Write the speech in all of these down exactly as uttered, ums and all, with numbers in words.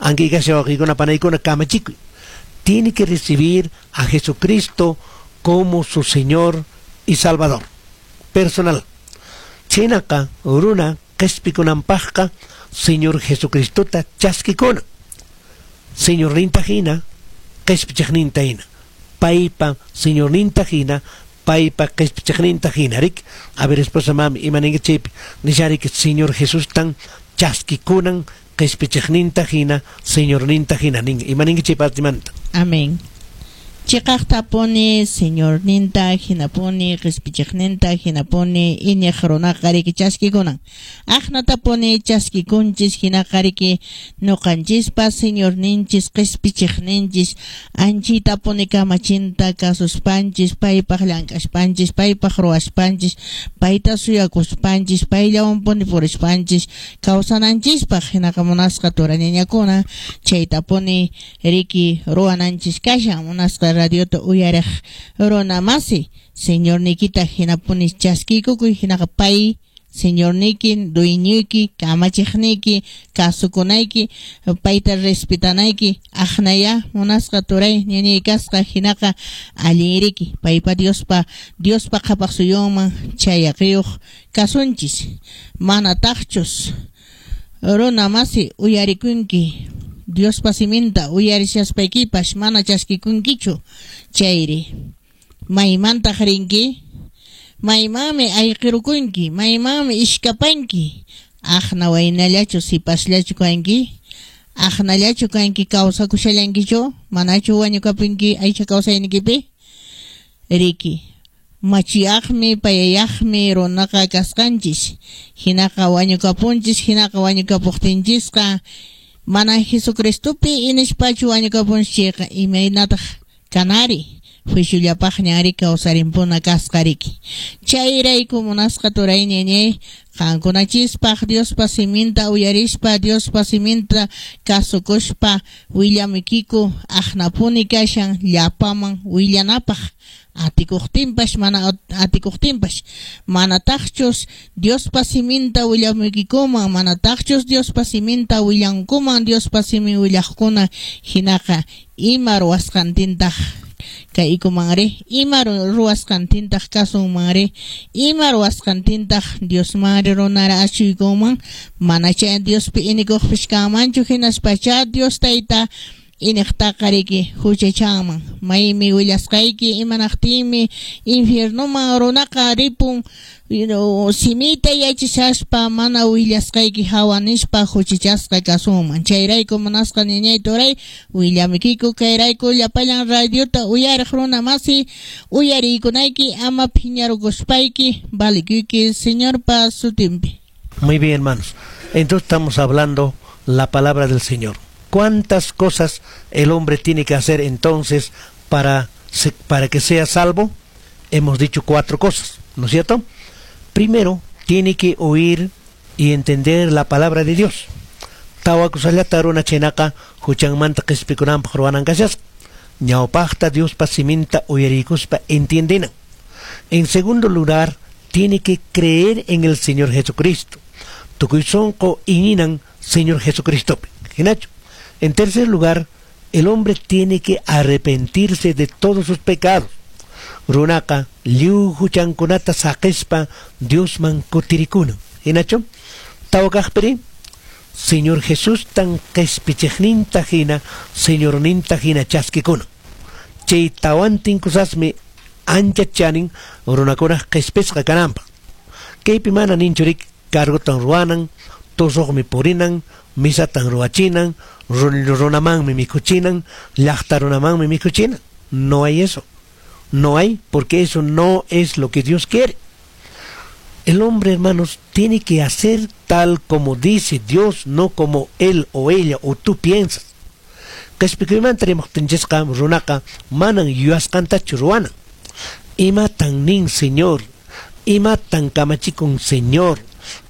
Ankikasha wawqiykuna panaykuna kamachikuy. Tiene que recibir a Jesucristo como su Señor y Salvador personal. Chhaynaqa runa qespikunanpaqqa Señor Jesucristota chaskikuna. Señorninta hina, qespichiqninta hina. Paypa Señorninta hina, paypa qespichiqninta hina. Rik, a ver, esposa mami, ima ninki chaypi? Nisharik Señor Jesús tan chaskikunan qespichiqninta hina, Señorninta hina. Nin, ima ninki chay partimanta? Amén. Chiqaqtapuni Señorninta hinapuni qispichiqninta hinapuni iñiq runaqa riki chaskikunan. Aqnatapuni chaskikunchis hinaqa riki ñuqanchispa Señorninchis qispichiqninchis anchitapuni kamachinta kasuspanchis paypaq llank'aspanchis paypaq ruwaspanchis payta suyakuspanchis payllawanpuni purispanchis kawsananchispaq hinaqa munasqa turañañakuna chaytapuni riki ruwananchis kashan munasqa radiota uyariq runa masi Señorniykita hinapuni chaskiykukuy hinaqa pay Señorniyki dueñoyki kamachiqniyki kasukunayki payta respetanayki aqnaya munasqa turay ñañay kasqa hinaqa allin riki paypa Diospa Diospa qhapaq suyunman chayaqiyuq kasunchis manataqchus runa masi uyarikunki Diospa siminta uyarishaspaykipas mana chaskikunkichu chayri maymantaq rinki maymanmi ayqirukunki maymanmi ishkapanki aqna waynallachu sipasllachu kanki aqnallachu kanki kawsakushallankichu manachu wañukapunki aycha kawsaynikipi riki machiyaqmi payayaqmi runaqa kasqanchis hinaqa wañukapunchis hinaqa wañukapuqtinchisqa mana Jesucristopi inispachu wañukapunchis chayqa imaynataq kanari juiciollapaqña ari kawsarimpuna kasqa riki chayrayku munasqa turay ñañay qankunachispaq Diospa siminta uyarispa Diospa siminta kasukuspa willamuykiku aqnapuni kashan llapaman willanapaq atikuqtinpas mana atikuqtinpas manataqchus Diospa siminta willamuykikuman manataqchus Diospa siminta willankuman Diospa simin willaqkuna hinaqa ima ruwasqantintaq kaykumanri ima ruwasqantintaq kasunmanri ima ruwasqantintaq Diosmanri runara achuykunman mana chay Diospi inikuqpis kanmanchu hinaspacha Dios tayta iniqtaqa riki huchachanman maymi willasqayki imanaqtinmi infiernoman runaqa ripun simita yachashaspa mana willasqayki hawa nispa huchachasqa kasunman chayrayku munasqa ñañay turay willamuykiku kayrayku llapallan radiota uyariq runa masi uyariykunayki ama phiñarukuspayki valikuyki Señorpa sutinpi. Muy bien, hermanos. Entonces estamos hablando la palabra del Señor. ¿Cuántas cosas el hombre tiene que hacer entonces para, para que sea salvo? Hemos dicho cuatro cosas, ¿no es cierto? Primero, tiene que oír y entender la palabra de Dios. Tawa kusallata runa chhaynaqa huchanmanta qispikunanpaq ruwanan kashasqa. Ñawpaqta Diospa siminta uyarikuspa entiendenan. En segundo lugar, tiene que creer en el Señor Jesucristo. Tukuy sonqo iñinan Señor Jesucristo. Hinachu. En tercer lugar, el hombre tiene que arrepentirse de todos sus pecados. Runaqa lliw huchankunata saqispa Diosman kutirikunan. Hinachu? Tawa kaqpiri Señor Jesús tan qespichiqninta hina, Señorninta hina chaskikunan. Chay tawantin kusasmi ancha chanin runakunaq qespisqa kananpaq. Kaypi mana ninchurik cargotan ruwanan, tusuqmi purinan, misatan ruwachinan, runamanmi mikhuchinan, llaqta runamanmi mikhuchinan. No hay eso. No hay, porque eso no es lo que Dios quiere. El hombre, hermanos, tiene que hacer tal como dice Dios, no como él o ella o tú piensas. Qespikuymanta rimaqtinchisqa runaqa manan yuyasqantachu ruwanan. Imatan nin Señor, imatan kamachikun Señor,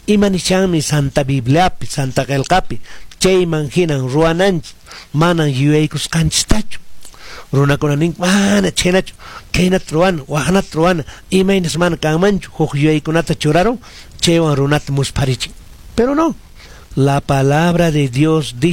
ima nishanmi Santa Bibliapi, Santa Qelqapi, chayman hinan ruwananchis, manan yuyaykusqanchistachu. Runakuna nin mana chhaynachu, khaynata ruwana, waqnata ruwana, imaynas mana kanmanchu, huk yuyaykunata churarun, chaywan runata muspharichin. Pero no, la palabra de Dios dice